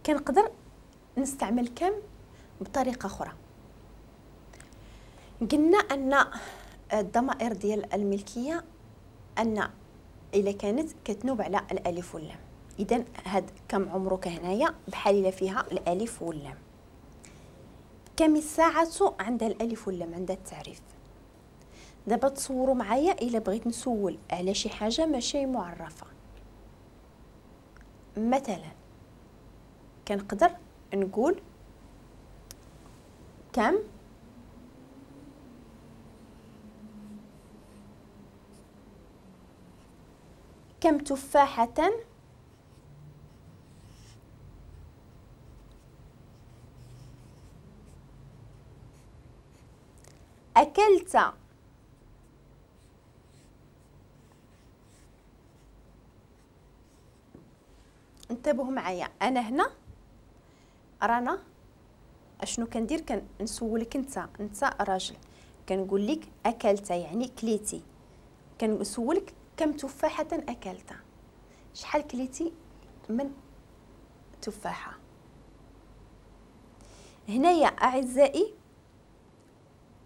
كنقدر نستعمل كم بطريقة اخرى. قلنا ان الضمائر ديال الملكية ان الا كانت كتنوب على الالف واللام، اذا هاد كم عمرك هنايا بحال الا فيها الالف واللام. كم الساعة عندها الالف واللام، عندها التعريف. دابا تصوروا معايا الا بغيت نسول على شي حاجة ماشي معرفة، مثلا كنقدر نقول كم كم تفاحة أكلت. انتبهوا معايا، أنا هنا رانا اشنو كندير؟ كنسولك انت راجل، كنقول لك اكلت يعني كليتي، كنسولك كم تفاحة اكلت، شحال كليتي من تفاحة. هنايا اعزائي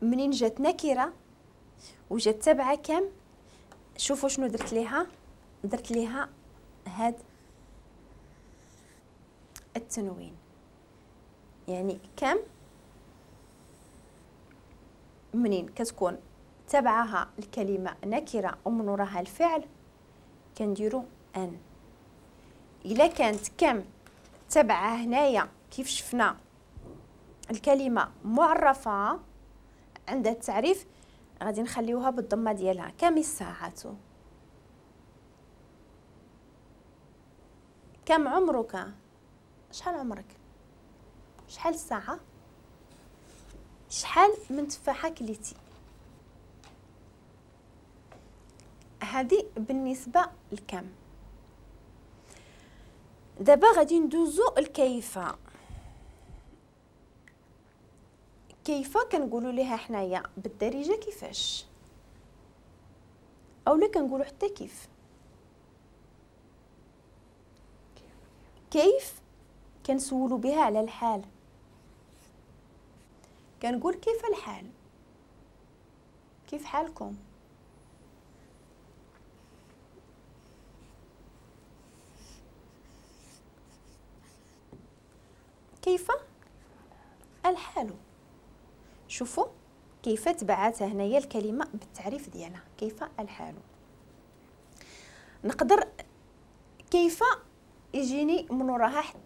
منين جات نكرة وجات تبعة كم، شوفوا شنو درت ليها، درت ليها هاد التنوين، يعني كم منين كتكون تبعها الكلمة نكرة ومن وراها الفعل كنديرو أن. إلا كانت كم تبعها هنايا كيف شفنا الكلمة معرفة عند التعريف غادي نخليوها بالضمة ديالها. كم الساعة، كم عمرك، شحال عمرك، شحال الساعة، شحال من تفاحة كليتي. هذه بالنسبة لكم. دابا غادي ندوزو الكيف. كيف كنقولوا ليها حنايا بالدارجة كيفاش، اولا كنقولوا حتى كيف. كيف كنسولوا بها على الحال، كنقول كيف الحال، كيف حالكم. كيف الحال. شوفوا كيف تبعاتها هنايا الكلمة بالتعريف ديالها، كيف الحال. نقدر كيف يجيني من وراها حتى